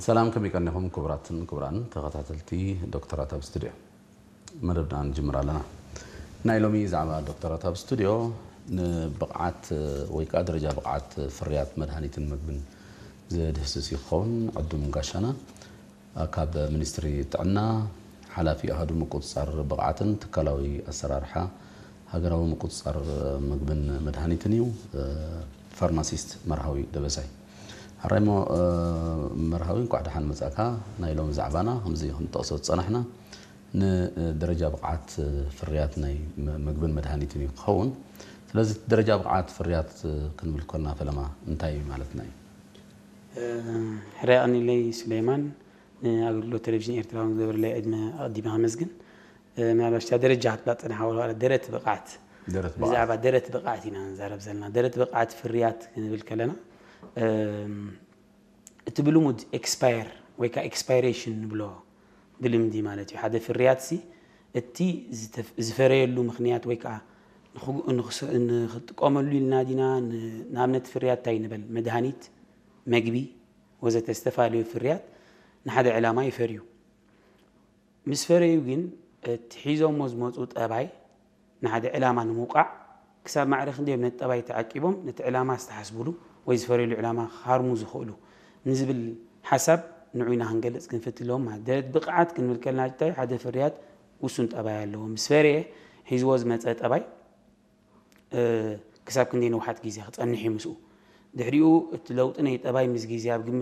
ሰላም፣ ከመይ ቀኒኹም ክቡራትን ክቡራን ተኸታተልቲ ዶክተራት ኣብ ስቱድዮ? መደብና ንጅምር ኣለና። ናይ ሎሚ ዛዕባ ዶክተራት ኣብ ስቱድዮ ንብቕዓት ወይ ከዓ ደረጃ ብቕዓት ፍርያት መድሃኒትን ምግብን ዝድህስስ ይኸውን። ዕዱም ጋሻና ካብ ሚኒስትሪ ጥዕና፣ ሓላፊ ኣሃዱ ምቁፅፃር ብቕዓትን ትካላዊ ኣሰራርሓ ሃገራዊ ምቁፅፃር ምግብን መድሃኒትን እዩ። ፋርማሲስት መርሃዊ ደበሳይ። ሕራይ እሞ መርሃዊ፣ እንኳዕ ደሓን መፃእካ። ናይ ሎሚ ዛዕባና ከምዚ ክንጠቕሶ ዝፀናሕና ንደረጃ ብቕዓት ፍርያት ናይ ምግብን መድሃኒትን እዩ ክኸውን። ስለዚ ደረጃ ብቕዓት ፍርያት ክንብል ከለና ፈለማ እንታይ ማለትና እዩ? ሕራይ ቀኒለይ ሱሌማን፣ ንኣገልግሎት ቴሌቪዥን ኤርትራ እውን ዝገበረለይ ዕድመ ኣቐዲመ ከመስግን። ምናልባሽ እታ ደረጃ ክትብላ ትጸንሓ ወላ ደረት ብቕዓት ደረት ብዛዕባ ደረት ብቕዓት ኢና ንዛረብ ዘለና። ደረት ብቕዓት ፍርያት ክንብል ከለና እቲ ብልሙድ ኤክስፓየር ወይ ከዓ ኤክስፓይሬሽን ንብሎ ብልምዲ ማለት እዩ። ሓደ ፍርያት ሲ እቲ ዝፈረየሉ ምክንያት ወይ ከዓ ንክጥቀመሉ ኢልና ዲና፣ ንኣብነት ፍርያት እንታይ ንበል፣ መድሃኒት፣ መግቢ ወዘተ ዝተፈላለዩ ፍርያት ንሓደ ዕላማ ይፈርዩ። ምስ ፈረዩ ግን እቲ ሒዞሞ ዝመፁ ጠባይ ንሓደ ዕላማ ንምውቃዕ ክሳብ ማዕረ ክንደዮም ነቲ ጠባይ ተዓቂቦም ነቲ ዕላማ ዝተሓስብሉ ወይ ዝፈረየሉ ዕላማ ክሃርሙ ዝኽእሉ ንዝብል ሓሳብ ንዑ ኢና ክንገልፅ ክንፍትለዎም ማለት። ደረት ብቕዓት ክንብል ከለና እንታይ ሓደ ፍርያት ውሱን ጠባይ ኣለዎ። ምስ ፈረየ ሒዝዎ ዝመፀ ጠባይ ክሳብ ክንደይ ነውሓት ግዜ ክፀንሕ እዩ ምስኡ። ድሕሪኡ እቲ ለውጢ ናይ ጠባይ ምስ ግዜ ኣብ ግምት